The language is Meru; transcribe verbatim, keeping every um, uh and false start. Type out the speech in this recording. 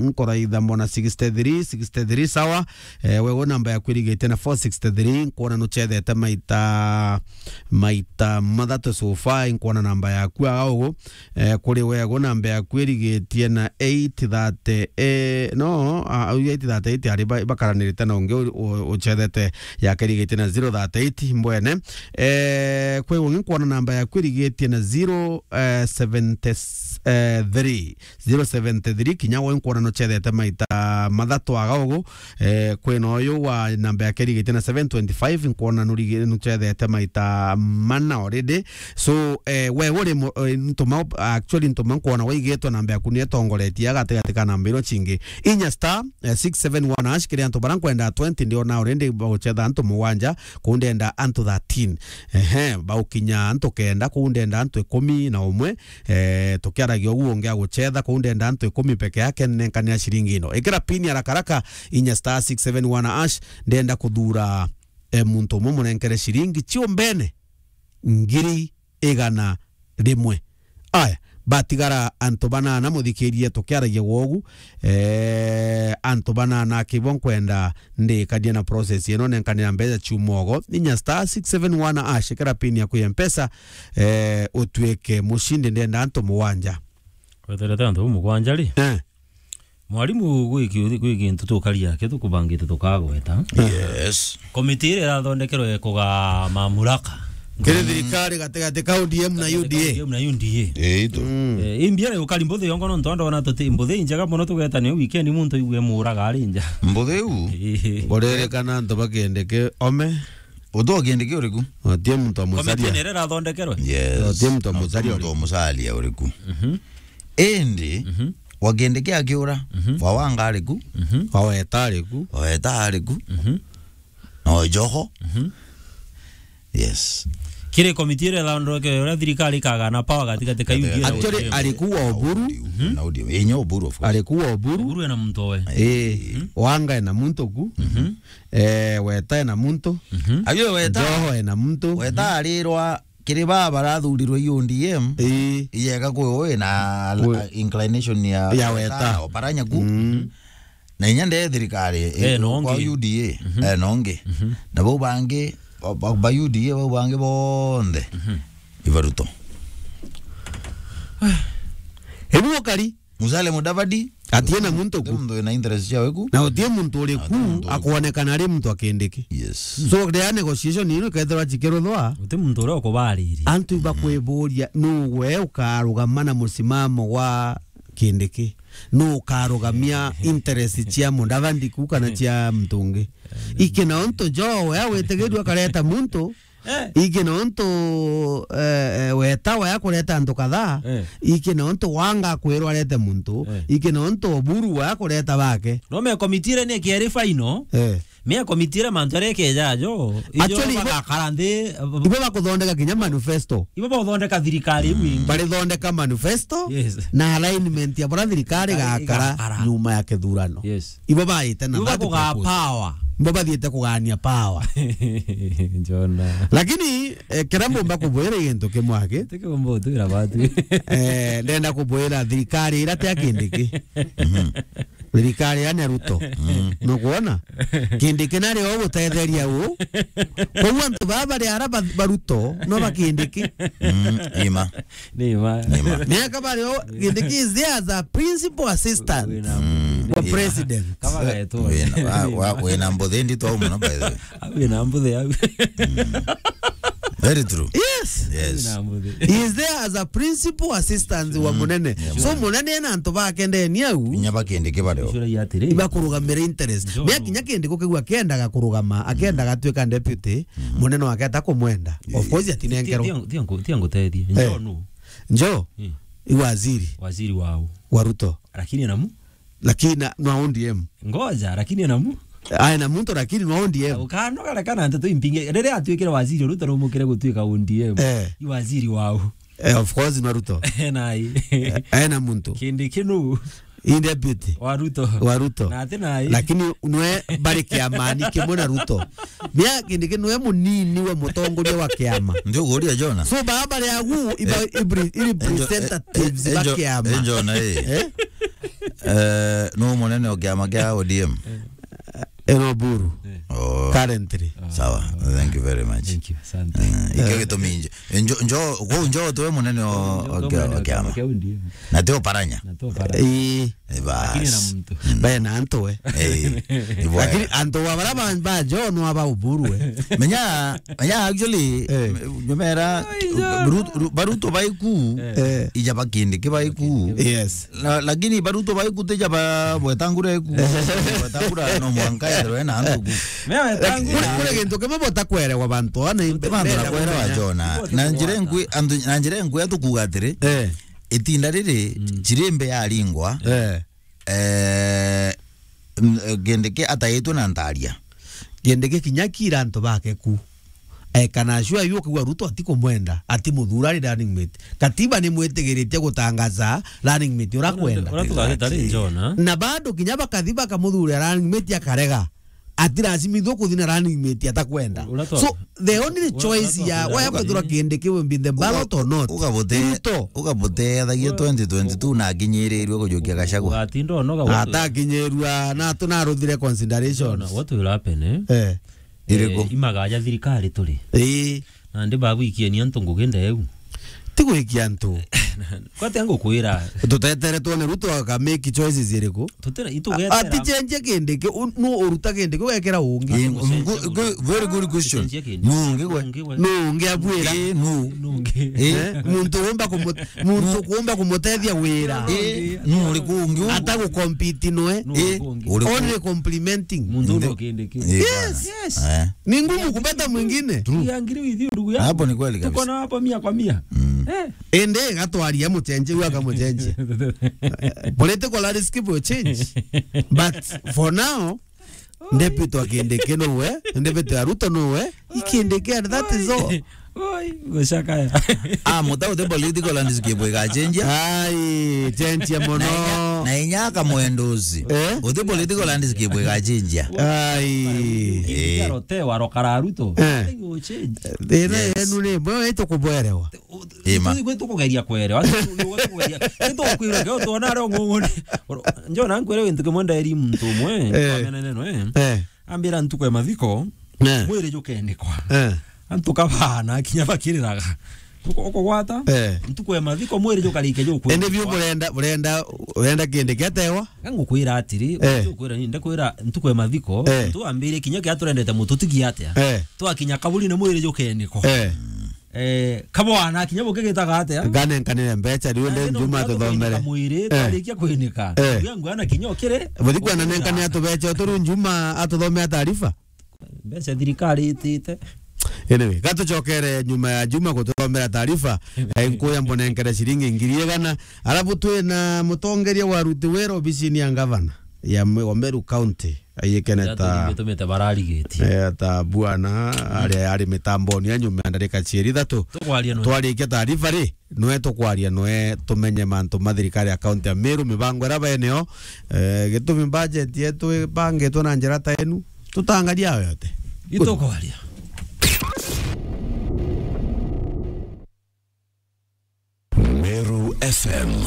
nkuraitha mbona sixty-three, sixty-three, sawa. Eh, wewe namba yaku irigitie na four sixty-three, nkwona nuchethete maita, maita mathatu so far, nkwona namba yaku aga ugu. Eh, kuri wewe namba yaku irigitie na eight thirty, eh, no, ah, au eight thirty-eight ari ba-, bakaranirite na ungi u-, u-, uchethete yake irigitie na zero thirty-eight mbwene. Eh, kwi ungi nkwona namba yaku irigitie na zero, eh, seventy, eh, three. Zero seventy-three, kinya we nkwona nuchethete maita mathatu aga ugu. Eh, kwina uyu wa namba yake irigitie na seven twenty-five, nkwona nurigi-, nuchethete maita mana already. So, eh, we uri mu-, eh, ntuma, actually ntuma nkwona waigitwe namba yaku ni etongoretie gatigati ka namba ino chingi. Inya star, eh, six seven one hash, kiri antu bara nkwenda twenty ndiona already baguchetha antu mugwanja, kuu ndenda antu thirteen. Ehe, baukinya antu kenda, kuu ndenda antu ikumi na umwe. Eh, tukiaragia uguo, ungi aguchetha kuu ndenda antu ikumi peke yake, nenkanira ciringi ino. Ikira pin ya rakaraka, inya star six seven one hash, ndenda kuthura, eh, muntu umwe munenkere ciringi ciumbene ngiri igana rimwe. Aya, batigara antu banana, muthikirie tukiaragia gwogu. Eh, antu banana akibo nkwenda ndikanie na process ino, nenkanira mbeca ciumogo. Inya star six seven one hash, ikira pin yaku ya Mpesa, eh, utuike mushindi, ndenda antu mugwanja. Weterete antu bau mugwanja ri? Eh. Mwarimu, gwi ki-, gwi gintu tukaria ki tukubangite tukagweta. Yes. Komiti iria irathondekerwe kugaa mamuraka. Kiri thirikari gatigati ka O D M na U D A. O D M na U D A. Ii tu. Mm. Eh, imbi ari ukari mbuthi yongo nontu ndona tuti mbuthi injega mono tugetania weekend muntu aigue muraga ari nja. Mbuthi u? Ii. Urerikana antu bakendeke ome? Utu akendeke uriku? Otie muntu amucaria. Komiti iria irathondekerwe? Yes. Otie muntu amucaria uriku? Muntu amucaria uriku? Mhm. Indi, mhm, wakendeke akiura, mhm, wawanga ariku? Mhm. Waweta ariku? Waweta ariku? Mhm. No Joho? Mhm. Yes. Kiri komiti iria ithondeke uria thirikari ikagana power gatigati ka U D A na O D M. Actually, ariku wa Oburu. Mhm. Na O D M. Inya Oburu, of course. Ariku wa Oburu. Oburu ena muntu we. Eh, mhm, wanga ena muntu ku. Mhm. Eh, weta ena muntu. Mhm. Ayo weta. Joho ena muntu. Weta arirwa kiri baa barathurirwe i O D M, ii, iyega kwi wi na inclination ya, ya weta, weta na Oparanya ku. Mm. Na inya nde thirikari, eh, ena kwa ungi. U D A, mhm, ena ungi. Mhm. Na bau bangi, ba, ba, ba U D A bau bangi bonthe, mhm, iba Ruto. Ibu ukari? Musalia Mudavadi. Atie na muntu ku. Muntu ena interest ciawe ku. Na utie muntu uri ku, ati muntu uri ku, akwonekana ari muntu akindiki. Yes. So, ria negotiation ino ikethirwa chikiruthwa. Uti muntu uria ukubariria. Antu iba kwiburia, nu we ukarugama na musimamo wa kindiki? Nu ukarugamia interest cia Mudavadi ku kana cia muntu ungi? Iki na untu Joho we awitigirua akareta muntu, eh, iki nontu, eh, eh, weta waya kureta antu kadhaa, eh, iki nontu wanga kwirwa arete muntu, eh, iki nontu Oburu waya kureta bake. No me komiti iria ni kieri final. Eh. Me komiti iria mantu aria ikeja jo. Actually, ibo bagakara nthi, ibo bakuthondeka kinya manifesto. Ibo bakuthondeka thirikari iu ingi. Barithondeka manifesto, yes, na alignment ya bura thirikari igakara, igakara nyuma ya kithurano. Yes. Ibo baite na ibo that bakugaa purpose. Power. Ibo bathiite kugania power. Jona. Lakini, eh, kiria mbumba kubwira i gintu kimwe aki. Tikiumba utwira batu. Eh, ndenda kubwira thirikari iria tia Kindiki. Mhm. Thirikari ya Ruto. Mhm. Nukwona? Kindiki nari o gutetheria u. Koguo antu baba bari ara ba, ba Ruto, no ba Kindiki. Mm, ima. Ni ma. Ni ma. Miaka bari o, Kindiki is there as a principal assistant. Wina mbuthi. Wa president. Kama gaetu. Wina, wa, wa, wina mbuthi ndito au muno, by the way. Wina mbuthi au. Mm. Very true. Yes. Yes. Wina mbuthi. He is there as a principal assistant wa, mm, munene. Yeah, so, munene. Munene ena antu bake ndeni au. Inya ba Kindiki bari o. Icura ya atiri. Ibakurugamira interest. Ndio. Mia kinya Kindiki ukigua akiendaga kurugama, akiendaga atuika deputy, mm, munene wake atakumwenda. Of course, atinengerwo. Tia, tia, tia ngu-, tia ngutethie. Eh. Njo nu? Njo? Mm. I waziri. Waziri wau? Wa Ruto. Lakini ena mu-? Lakini na, na O D M. Ngoja, lakini ena mu-? Ai, na muntu lakini na O D M. Ukanoga kana nteto impinge. Riria atuikire waziri, Ruto rumukire gutuika O D M. Eh. I waziri wau? Eh, of course, na Ruto. Nai. Eh, ena muntu. Kindiki nu? I deputy. Wa Ruto. Wa Ruto. Na ati nai. Lakini nwe bari kiamani kimwe na Ruto. Mia Kindiki nwe munini wa mutongoria wa kiama. Ndio guria Jona. So, baba bari agu iba, eh, ibri-, i representatives, eh, ba kiama. Eh, Jona, eh. Eh? Eh, no munene o kiama kia O D M? Eno Buru. Oh. Currently. Sawa. Thank you very much. Thank you. Asante. Eh, ikio gitumi njo, njo, njo, kuu njo twe munene o, o kia-, o kiama. Na tio Paranya. Na tio Paranya. Ii. Eh, bas. Lakini na muntu. Bae na antu we. Eh, ibo. Lakini antu wa bara ba, ba John wa ba Uburu we. Menya, menya actually, eh, nyumera, Ruto, Ruto baiku, eh, ija bakindi ki baiku. Yes. La-, lakini baruto baikutija ba-, bwetangura eku. Bwetangura no mwanka ethirwe na antu ku. Mea wetangura. Kule, kule gintu kimwe botakwerewa bantu, ana inte bantu na kwerewa Jona. Na njira nkwi, antu, na njira nkwi atukuga atiri, eh, itinda riri, mm, chirimbe yaringwa, eh, eh, n-, gindiki ataitwe na ntaria. Gindiki kinya kira antu bake ku. Ekana sure yu ukigua Ruto atikumwenda, atimuthura ari running mate. Katiba ni mwitigiritie gutangaza running mate ura kwenda. Ura tugagita ri Jona. Na bado kinya bakathi bakamuthura running mate akarega. Atiracimithwo kuthi na running mate atakwenda. Ura twa-, so, the only choice ya waya kwithirwa Kindiki will be in the ballot or not. Ugabote-, Ruto. Ugabotethagia twenty twenty-two na akinyirirwe kujukia Gachagua. Ugatinda onoga. Atakinyirua na tunaruthire considerations. Jona, what will happen, eh? Eh. Iriku? Eh, imagaja thirikari turi. Ii. Nandi bagwikiania antu ngugi ndeu. Ti gwikia antu. Kwate ngukwira. Tutetere twone Ruto aka make choices iriku? Tutira, itugetera. Ati change Kindiki, u-, nu uruta Kindiki, ugekira ungi. Ii, ngu-, ngu-, very good question. Change Kindiki. Nu ungi gwe? Nu ungi gwe? Nu ungi abwira? Ii, nu. Nu ungi. Ii. Eh? Muntu umba kumut-, muntu kuumba kumutethia wira. Eh, nu uriku ungi u? Ata gucompete noe. Nu uriku ungi. Uriku. Only complimenting. Muntu nu Kindiki. Eh, yes, bana. Yes. Eh. Ni ngumu kupata mwingine. True. Tukiangalia hivi, ndugu yangu. Hapo ni kweli kabisa. Tuko na hapo mia kwa mia. Mm. Eh. Ende gatwaria muchenje, ua kamuchenje. Political landscape will change. But for now, Ndepitwa Kindiki nuwe, ndepitwa Ruto nuwe, i Kindiki and that is all. Oi, gucakaya. Ah, muta uti political landscape igachenjia. Ai, chenjia muno. Na inya, na inya akamwenduzi. Eh? Uti political landscape igachenjia. Ai. Eh. Rote wa rokara Ruto. Eh. Nothing will change. Thina yenu ni, mwe wetu kubwerewa. Ii ma. Tukugeria kwerewa. Tukugeria. Nitukwira ke utona ari ong'ong'one. Njona nkwire gintu kimwe nderi muntu umwe, eh, twamenene no, eh. Eh. Ambira ntuku ya mathiko, eh, mwiri jukenikwa. Eh. Antu kabana kinya bakiriraga. Uko-, ukugwata? Eh. Ntuku ya mathiko mwiri jukarike jukwe. Ende biu burenda, burenda, urenda Kindiki atewa? Ngukwira atiri, eh, ukwira ni, ndakwira ntuku ya mathiko, eh, tu ambire kinya kia turendete mutu tigi atia. Eh. Twakinya kaburi ni mwiri jukenikwa. Eh. Eh, kabwana kinya bukigitaga atia? Nganenkanire mbecha, riu nde Njuma tuthomere. Mwiri, eh, twarikia kwinika. Eh. Ugia ngwana kinya ukire. Buthi kwana nenkane atubecha, turu Njuma atuthomea taarifa. Mbecha thirikari itite. Anyway, gatucokere nyuma ya Juma gututhomera taarifa. Eh, nkuya mbonenkere ciringi ngiri igana. Alafu twi na mutongeria wa ruti wira obisini ya ngavana ya Me-, wa Meru County. Ayikene ta, tumite bararigitie. Eh, ta bwana, mm, ari, ari mitamboni ya nyuma ya ndarika cieri ithatu. Tukwaria nwe. Twarikia taarifa ri, nwe tukwaria nwe tumenye mantu ma thirikari ya kaunti ya Meru, mibango iria baeneo, eh, gitumi budget yetu ibangitwe na njira ta enu. Tutangaria ayo yote. Itukwaria. Meru F M.